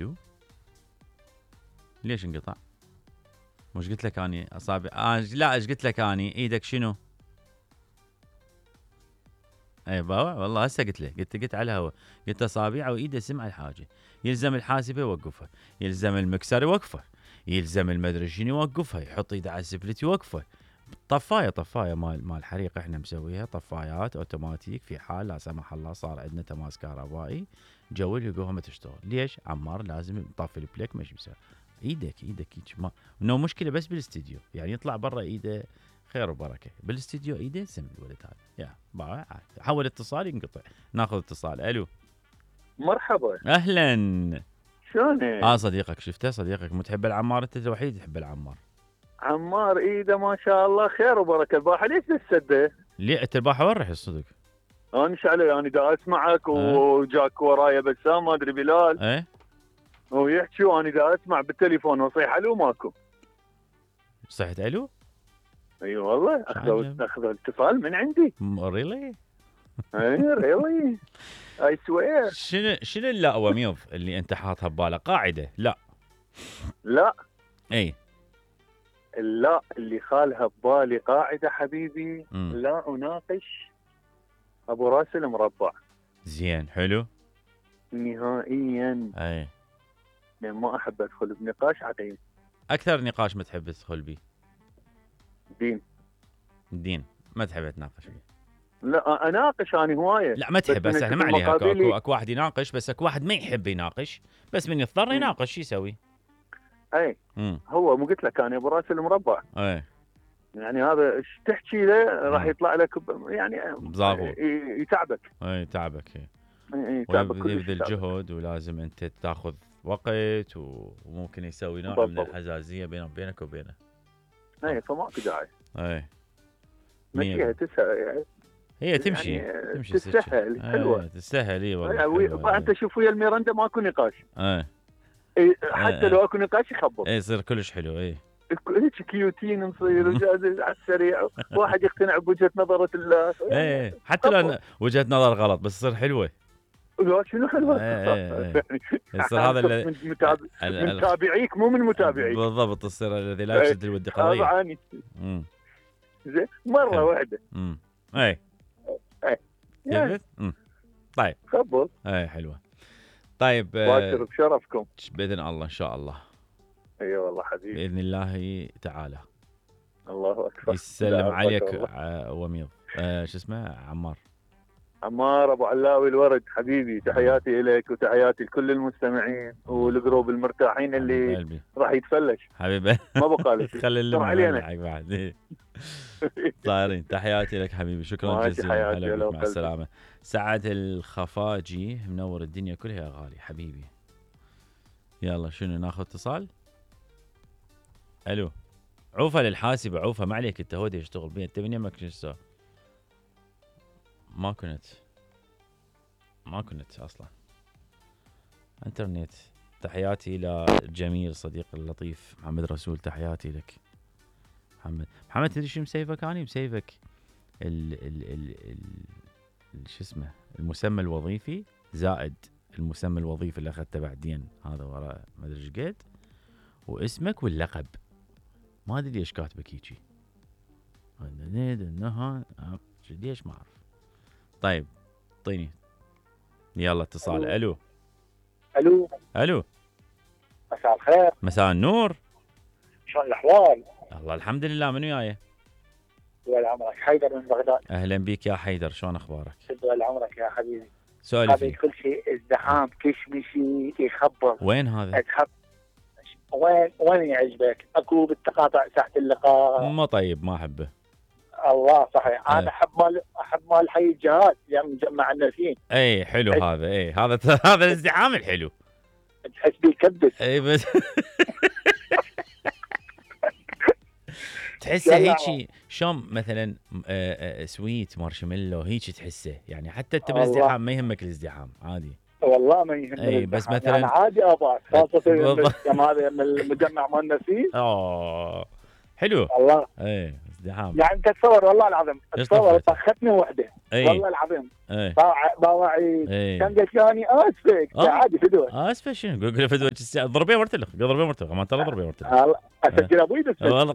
الو ليش انقطع؟ مش قلت لك اني اصابع لا ايش قلت لك اني ايدك شنو؟ اي بابا والله هسه قلت له قلت على الهواء قلت اصابعه وايده سمع الحاجه يلزم الحاسبه يوقفها يلزم المكسر يوقفه يلزم المدري شنو يوقفها يحط ايده على السفلت يوقفه طفايه مال حريق احنا مسويها طفايات اوتوماتيك في حال لا سمح الله صار عندنا تماس كهربائي جول يلقوها ما تشتغل ليش عمار لازم يطفي البليك مش مسوي ايدك هيك ما انه مشكله بس بالاستديو يعني يطلع برا ايده خير وبركه بالاستديو ايده سم الولد هذا يا بقى حول اتصال ينقطع ناخذ اتصال الو مرحبا اهلا شلونك؟ صديقك شفته صديقك متحب العمار انت الوحيد تحب العمار عمار ايده ما شاء الله خير وبركه البارحه ليش تسده؟ ليه انت البارحه وين رحت الصدق؟ انا علي انا دا اسمعك وجاك ورايا بسام ما ادري بلال ايه ويحكي وانا دا اسمع بالتليفون وصيح الو ماكو صحت الو؟ اي والله اخذ اتصال من عندي ريلي؟ اي ريلي اي سوير شنو اللا وميض اللي انت حاطها ببالك قاعده لا اي لا اللي خالها ببالي قاعده حبيبي لا اناقش ابو راس المربع زين حلو نهائيا اي يعني ما احب ادخل بنقاش عقيم اكثر نقاش ما تحب تدخل به دين ما تحب تناقش فيه لا اناقش انا هوايه لا ما تحب بس احنا ما عليها اكو واحد يناقش بس اكو واحد ما يحب يناقش بس من يضطر يناقش شو يسوي اي هو مو قلت لك انا ابو راس المربع اي يعني هذا ايش تحكي له راح يطلع لك يعني يتعبك يتعبك يتعبك ويبذل جهد ولازم انت تاخذ وقت وممكن يسوي نوع من الحزازيه بينك وبينه اي فماكو داعي اي مشيها تسهل هي تمشي يعني تمشي تسهل حلوه تسهل اي والله انت شوف ويا الميرندا ماكو نقاش حتى لو اكو نقاش يخبط يصير كلش حلو هيك كيوتين نصير على السريع واحد يقتنع بوجهه نظره الله حتى لو وجهه نظر غلط بس تصير حلوه لا شنو حلوه يصير هذا من متابعيك مو من متابعيك بالضبط تصير الذي لا يشد الود قضيه طبعا زين مره واحده اي طيب خبط حلوه طيب باكر بشرفكم باذن الله ان شاء الله اي والله حبيبي باذن الله تعالى الله اكبر يسلم عليك وميض شو اسمه عمار ابو علاوي الورد حبيبي تحياتي لك وتحياتي لكل المستمعين والجروب المرتاحين اللي راح يتفلش حبيبي ما بقى لك خلي اللي بعد طايرين تحياتي لك حبيبي شكرا جزيلا هلا مع السلامه سعد الخفاجي منور الدنيا كلها يا غالي حبيبي يلا شنو ناخذ اتصال الو عوفه للحاسبه عوفه ما عليك انت هودي يشتغل بيه انت من يمك شو ما كنت اصلا انترنت تحياتي لجميل صديق اللطيف محمد رسول تحياتي لك محمد تدري شو مسيفك اني مسيفك شو اسمه المسمى الوظيفي زائد المسمى الوظيفي اللي اخذته بعدين هذا ورا ما ادري ايش قد واسمك واللقب ما ادري ليش كاتبك هيجي ليش ما اعرف طيب اعطيني يلا اتصال الو مساء الخير مساء النور شلون الاحوال؟ الله الحمد لله من وياي؟ طول عمرك حيدر من بغداد اهلا بك يا حيدر شلون اخبارك؟ طول عمرك يا حبيبي سؤالي هذا كل شيء ازدحام كشمشي يخبط وين هذا؟ وين يعجبك؟ اكو بالتقاطع ساحه اللقاء ما طيب ما احبه الله صحيح انا احب مال حي الجهاد يعني مجمع الناسين اي حلو هذا هذا الازدحام الحلو تحس بيه يكبس اي بس تحسه هيك شلون مثلا سويت مارشميلو هيك تحسه يعني حتى انت بالازدحام ما يهمك الازدحام عادي والله ما يهمني اي بس مثلا يعني عادي اباك خاصه هذا من المجمع مال الناسين حلو الله اي ازدحام. يعني تتصور والله العظيم، تصور طختني وحده والله العظيم. باوعي كان قالت لي اسفك عادي فدوه. اسفه شنو؟ قول له فدوه ضربيه مرتلخ، ضربيه مرتلخ، ما ترى ضربيه مرتلخ. والله اسجل ابوي والله.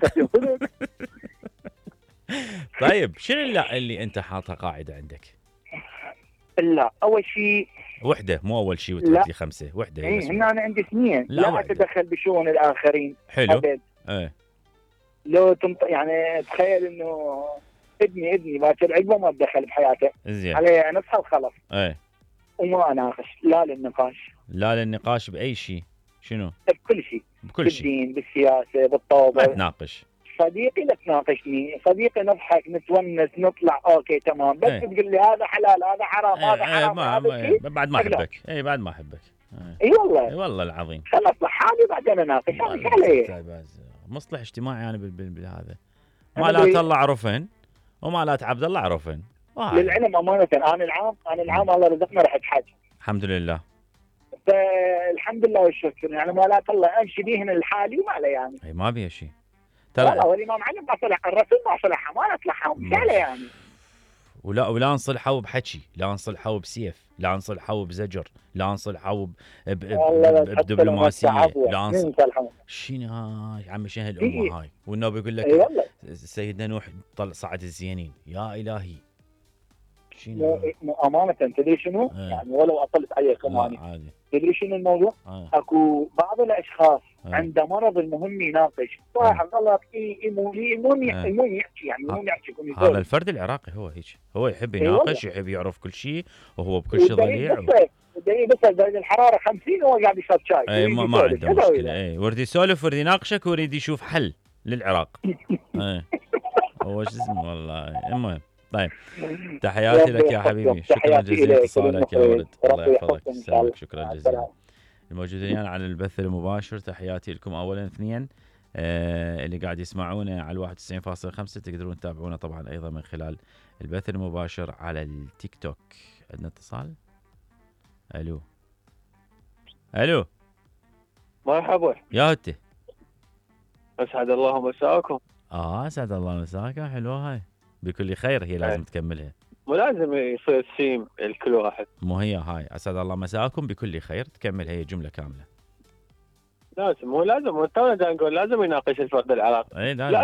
طيب شنو اللي انت حاطها قاعده عندك؟ لا اول شيء وحده، مو اول شيء وتحط لي 5 وحده. اي هنا انا عندي 2 لا اتدخل بشؤون الاخرين. حلو. أبد. لو يعني تخيل انه ابني باكر عقبه ما اتدخل بحياته. زين. عليه نصحى وخلص. وما اناقش لا للنقاش باي شيء. شنو؟ بكل شيء. بالدين، بالسياسه، بالطوبه. ما تناقش. صديقي لا تناقشني، صديقي نضحك نتونس نطلع اوكي تمام، بس تقول لي هذا حلال هذا حرام هذا حرام بعد ما احبك. بعد ما احبك. اي والله. اي والله العظيم. خلص لحالي بعدين اناقش. انا عليه مصلح اجتماعي يعني بالهذا. ما لا طلع عرفن وما لا عبد الله عرفن. للعلم امانه انا العام الله رزقنا رحت حج. الحمد لله. فالحمد لله والشكر يعني ما لا طلع امشي بيهن لحالي وما له يعني. اي ما بيها شيء. ترى والامام علي ما صلح، الرسول ما صلحها، ما نصلحها مشكله يعني. ولا نصلحوا بحكي، لا نصلحوا بسيف، لا نصلحوا بزجر، لا نصلحوا بدبلوماسيه، لا نصلحوا شنو هاي عمي شنو هالامه هاي. والنبي يقول لك سيدنا نوح صعد الزينين. يا الهي شنو امانه تدري شنو؟ يعني ولو اطلت عليكم اني تدري شنو الموضوع؟ اكو بعض الاشخاص عنده مرض المهم يناقش، واحد غلط المهم يحكي يعني المهم يحكي. هذا الفرد العراقي هو هيك، هو يحب يناقش، يحب يعرف كل شيء، وهو بكل شيء ضليع. بس درجه الحراره 50 وهو قاعد يشرب شاي. ما عنده مشكله. ورد يسولف، ورد يناقشك، ورد يشوف حل للعراق. هو شو اسمه والله. المهم طيب، تحياتي لك يا حبيبي، شكرا جزيلا اتصالك يا ولد، الله يحفظك، يسلمك، شكرا جزيلا. الموجودين على البث المباشر تحياتي لكم اولا. 2 اللي قاعد يسمعونا على 91.5 تقدرون تتابعونا طبعا ايضا من خلال البث المباشر على التيك توك. عندنا اتصال. الو مرحبا يا هتي، اسعد الله مساكم. اسعد الله مساك. حلوه هاي، بكل خير هي لازم تكملها، مو لازم يصير سيم الكل واحد. مو هي هاي اسعد الله مساكم بكل خير تكمل هي جمله كامله. لازم، مو لازم، تونا نقول لازم يناقش الفرد العراقي. لازم